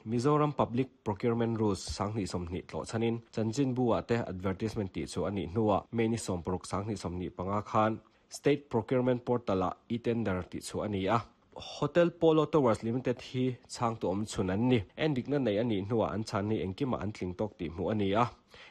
Mizoram Public Procurement Rules 2020 tlawh chhanin chanchinbu-ah te advertisement tih chu a nih hnuah May ni 16 2025 khan State Procurement Portal-ah e-tender tih chu a ni a. Hotel Polo Towers Limited hi chhangtu awm chhun an ni. Endikna nei a nih hnuah an chhan hi engkimah an tling tawk tih hmuh a ni a,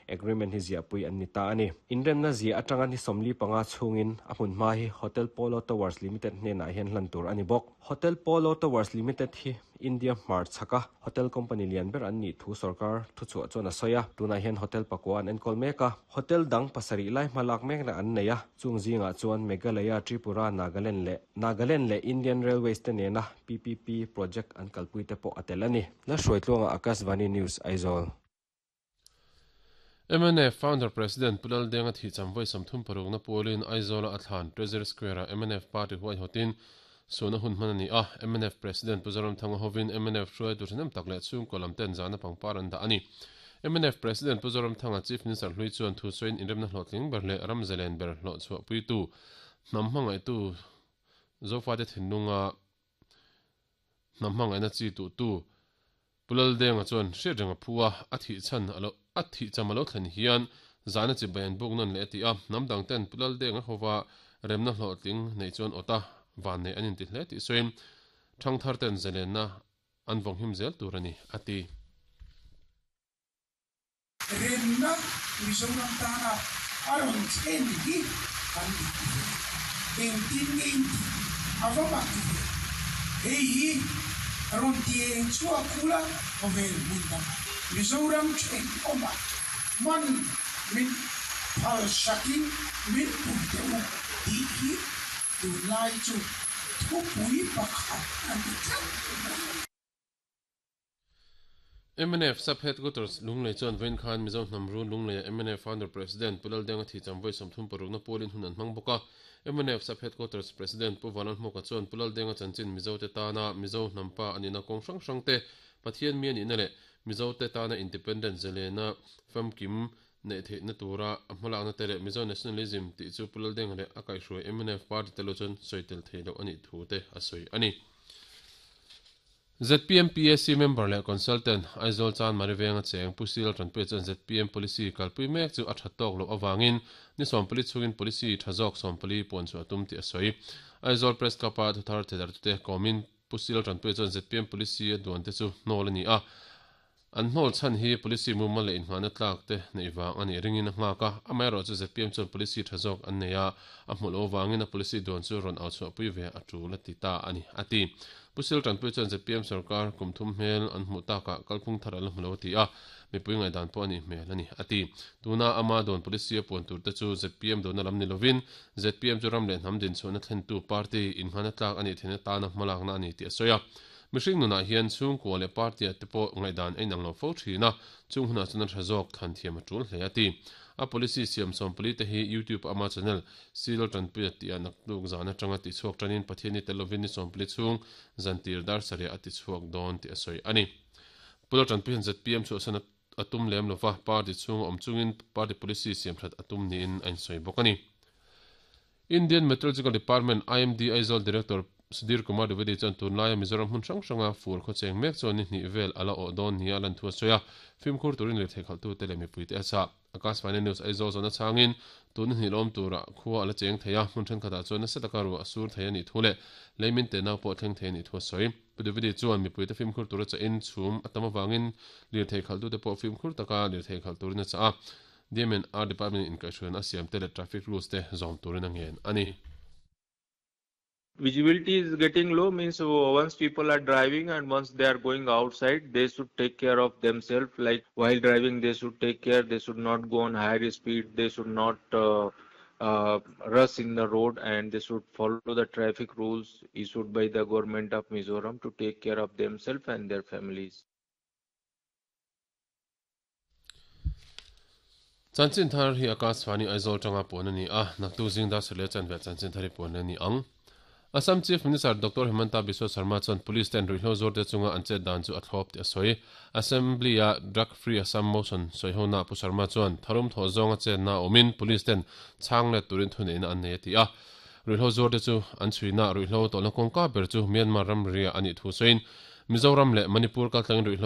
agreement hi ziahpui an ni ta a ni. Inremna ziah atanga ni 45 chhungin a hmunhma hi Hotel Polo Towers Limited hnenah hian hlan tur a ni bawk. Hotel Polo Towers Limited hi India hmar chhaka hotel company lian ber an nih thu sorkar thuchhuah chuan a sawi a. Tunah hian hotel pakua an enkawl mek a, hotel dang pasarih lai hma lak mekna an nei a, chung zingah chuan Meghalaya, Tripura, Nagaland leh Nagaland leh Indian Railways te nena PPP project an kalpui te pawh a tel a ni. Lalhruaitluanga Akashvani News, Aizawl. Mnf Founder President Pu Laldenga thihcham vawi 36 na pualin Aizawla a thlan Treasury Square-ah mnf Party huaihawtin suhna hun hman a ni a. Mnf President Pu Zoramthanga hovin mnf hruaitu thahnem tak leh chhungkaw lam ten zahna pangpar an dah a ni. Mnf President Pu Zoramthanga Chief Minister hlui chuan thu sawiin inremna hlawhtling ber leh ram zalen ber hlawhchhuahpuitu hnam hmangaihtu Zofate thinlunga hnam hmangaihna chi tuhtu Pu Laldenga chuan hriat reng a phu a, a thih chhan a lo a thih cham a lo thlen hian zahna chi bai an buk nawn leh a ti a, hnam dang ten Pu Laldenga hova remna hlawhtling neih chuan awt a, vannei an inti hle tih sawiin thangthar ten zalenna an vawnghim zel tur a ni, a ti. Remna Mizoram tana a rawn thlen hi kan inti ve. Engtin nge inti a va mak ve. Hei hi rawn ti eng chhuak ula khawvel hmun dangah Mizoram thenawmah hman min phalsakin min pui teh u tih hi tunlai chu thupui pakhat a ni tlat mai. Mnf Sub Headquarters Lunglei chuan vawiin khan Mizo hnam run Lungleia mnf Founder President Pu Laldenga Thicham vawi 36 na pualin hun an hmang bawk a. Mnf Sub Headquarters President Pu Vanlalhmuka chuan Pu Laldenga chanchin Mizote tana Mizo hnampa a nihna kawng hrang hrang te, Pathian mi a nihna leh Mizote tana Independent zalena famkim neih theihna tura a hmalakna te leh Mizo Nationalism tih chu Pu Laldenga leh a kaihhruai mnf party te lo chuan sawi tel theih loh a nih thu te a sawi a ni. Zpm PAC member leh consultant, Aizawl Chanmari venga cheng Pu Sil Tanpuia chuan zpm policy kalpui mek chu a tha tawk loh avangin ni 40 chhungin policy tha zawk 40 puan chhuah a tum tih a sawi. Aizawl Press Club-a thuthar thedar-tute kawmin Pu Sil Tanpuia chuan zpm policy a duan te chu hnawl a ni a, An hnawl chhan hi policy mumal leh inngahna tlak te neih vang a nih ringin a nghak a, amaherawhchu zpm chuan policy tha zawk an nei a, a hmuh loh avangin a policy duan chu rawn au chhuahpui ve a tul a ti ta a ni, a ti. Pu Sil Tanpui chuan zpm sorkar kum thum hmel an hmuh takah kalphung thar a la hmu lo a ti a, mipui ngaihdan pawh a nih hmel a ni, a ti. Tuna ama duan policy a puan tur te chu zpm duanna lam ni lovin zpm chu ram leh hnam dinchhuahna thlentu party inngahna tlak a nih theihna tana hmalakna a ni tih a sawi a. Mihring nunah hian chhungkua leh party-ah te pawh ngaihdan a inang lo fo thin a, chung hunah chuan a tha zawk thlan thiam a tul hle a ti. A policy siam 40 te hi YouTube ama channel Seal Tanpuia tihah naktuk zan atanga tichhuak tanin Pathian i tel lovin ni 40 chhung zantir dar sarih a tichhuak dawn tih a sawi a ni. Pu Laltanpui hian zpm chhuahsan a tum lem lova, party chhunga awm chungin party policy siam that a tum niin a insawi bawk a ni. Indian Meteorological Department, IMD, Aizawl Director Sudhir Kumar Dwivedi chuan tunlaia Mizoram hmun hrang hranga fur khawcheng mek chuan ni hnih vel a la awh dawn nia lan thu a sawi a, fimkhur turin lirthei khalhtute leh mipuite a chah. Akashvani News Aizawl zawhna chhangin tun ni hnih lawm turah khua a la cheng thei a, hmun thenkhatah chuan nasa taka ruah a sur thei a nih thu leh leimin te nau pawh thleng thei a nih thu a sawi. Pu Dwivedi chuan mipuite fimkhur tura chahin chhum a tam avangin lirthei khalhtute pawh fimkhur taka lirthei khalh turin a chah a. DMNR Department in inkaihhruaina a siam te leh traffic rules te zawm turin a ngen a ni. Visibility is getting low means once people are driving and once they are going outside they should take care of themselves like while driving they should take care they should not go on higher speed they should not uh, uh, rush in the road and they should follow the traffic rules issued by the government of Mizoram to take care of themselves and their families. Chanchin thar hi Akashvani Aizawl tanga puan a ni a, naktuk zing dar sarih leh chanve chanchin thar hi puan leh a ni ang. Assam Chief Minister Doctor Himanta Biswa Sarma chuan Police ten ruihhlo zuarte chunga an chet dan chu a thlawp tih a sawi. Assembly-a Drug Free Assam Motion sawihonaah Pu Sarma chuan tharum thawh zawnga chetna a awmin Police ten chhang let turin thuneihna an nei a ti a. Ruihhlo zuarte chu an chhuina ruihhlo tawlhna kawngka ber chu Myanmar ramria a nih thu sawiin Mizoram leh Manipur kaltlangin ruihhlo.